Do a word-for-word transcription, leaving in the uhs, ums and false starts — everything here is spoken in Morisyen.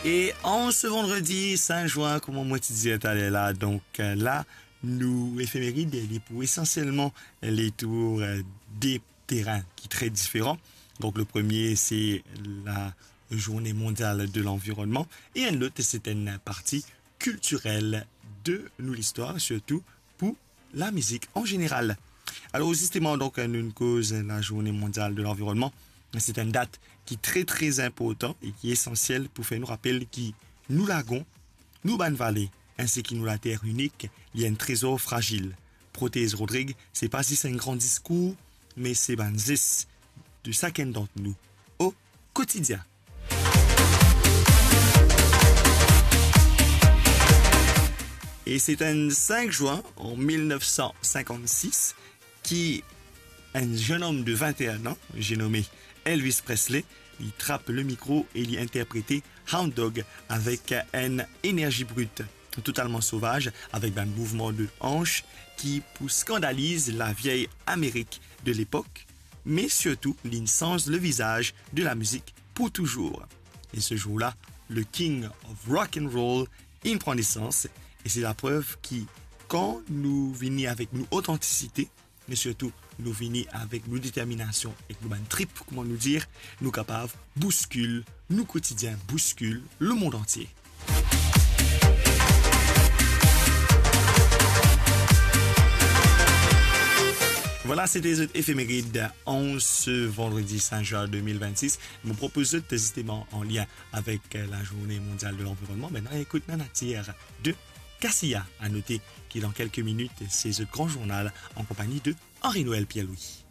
E an se vandredi sin zin, kouma mo ti dir taler la, donk, euh, la, nou efemerid, li pou esansielman le tour, euh, de terin ki tre diferan. Donk, le premie, se la Journée mondiale de l'environnement, e enn lot, se enn parti kiltirel de nou listwar, sirtou pou lamizik an zeneral. Alor, zisteman, donk, nou'nn koz la Journée mondiale de l'environnement. Se enn dat ki tre, tre inportan e ki esansiel pou fer nou rapel ki nou lagon, nou bann vale, insi ki nou later inik, li enn trezor frazil. Protez Rodrig, se pa zis enn gran diskour, me se bann zes de sakenn dant nou o kotidien. E se enn sin zin an mil nef san sinkant-sis ki enn zenn om de vinte-enn an, je nome Elvis Presley, li trap le mikro e li interprete Hound Dog avek enn enerzi brit, totalman sovaz, avek bann mouvman de hanch ki pou skandaliz laviey Amerik de lepok, me sirtou, li'nn sanz le vizaz de lamizik pou touzour. E se zour la, le King of Rock and Roll inn pran nesans, e se laprev ki, kan nou vini avek nou otantisite, me sirtou nou vini avek nou determinasion ek nou bann trip, kouma nou dir, nou kapav bouskil nou kotidien, bouskil lemond antie. Vwala, sete zot efemerid an se vandredi sin zin de mil vennsis. Mo propoz zot zisteman an lien avek, euh, la Journée mondiale de l'environnement. Aster, ekout Nanatir de Cassia. A note ki dan kelke minit, se zot gran zournal an konpagni de Henri-Noël Pierre-Louis.